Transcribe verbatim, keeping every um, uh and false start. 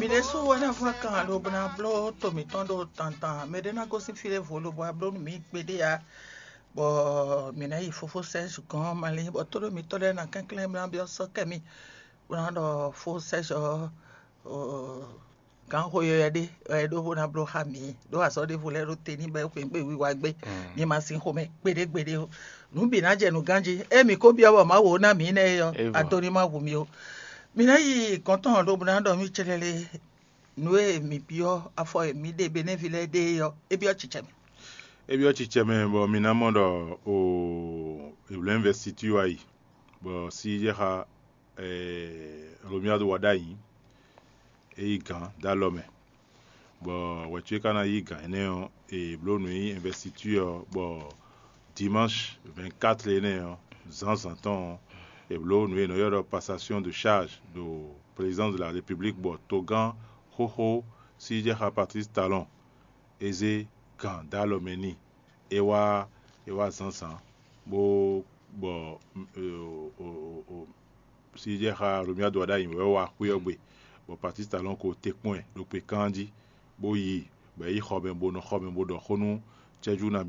Ɖésú wɛ ná fún kan lobo ná bló to mǐtɔn ɖo tantan. Mɛ ɖé ná gosín fí ɖěvo lobo wá bló nú mǐ kpéɖé ǎ. Bɔ mǐ ná yi fofó Sɛ́si gɔ́n malín, bɔ tóɖó mǐtɔn lɛ́ɛ ná kɛnklɛ́n bó ná byɔ́ sɔ́ kɛ mì, bó ná ɖɔ fó Sɛ́si ɔ́, gǎn xo yɔyɔ ɖé wɛ é ɖó bó ná bló xá mǐ, ɖó azɔ̌ ɖěvo lɛ́ɛ ɖo te ní bɔ é xweyǐgbe wiwa gbé. Mi ma sin xomɛ gbeɖé gbeɖé ó. Nǔ bǐ ná jɛ nǔ ganjí. Ée mǐ ko byɔ́ bɔ Mawu ó ná mǐ nɛ́ é ɔ́, Évo. Ado ní ma hu mì ó. Mǐ ná yi gɔ̌n tɔn lobo ná ɖɔ mì cɛlɛlɛ. Nǔ e mǐ byɔ́ afɔ e mǐ ɖe Benɛ́vi lɛ́ɛ ɖe é ɔ́, é byɔ́ cicɛ mɛ. É byɔ́ cicɛ mɛ bɔ mi ná mɔ ɖɔ o Hebrew University wá yi, bɔ sí jɛ xa Romuald Wadagni é yí gǎn dó alɔ mɛ, bɔ wɛ̌ ce ka ná yí gǎn énɛ́ ɔ́, è blǒ nǔ nyi investiture ɔ́, bɔ dimanche vingt-quatre énɛ́ ɔ́, zǎnzǎn tɔn ɔ́, è blǒ nǔ e è nɔ ylɔ́ ɖɔ passation de charge ɖo présidence de la République, bɔ togán xóxó Sidjexá Patrice Talon é zé gǎn dó alɔ mɛ n'i. É wá é wá zǎnzǎn bó bɔ Sidjexá Romuald Wadagni wɛ wá xwé ɔ́ gbe, bɔ Patrice Talon ko te kpɔ́n ɛ ɖo kpekán jí, bó yi bɔ é yi xɔ mɛ bó nɔ xɔ mɛ bó ɖɔ xó nú cɛ́jú nabí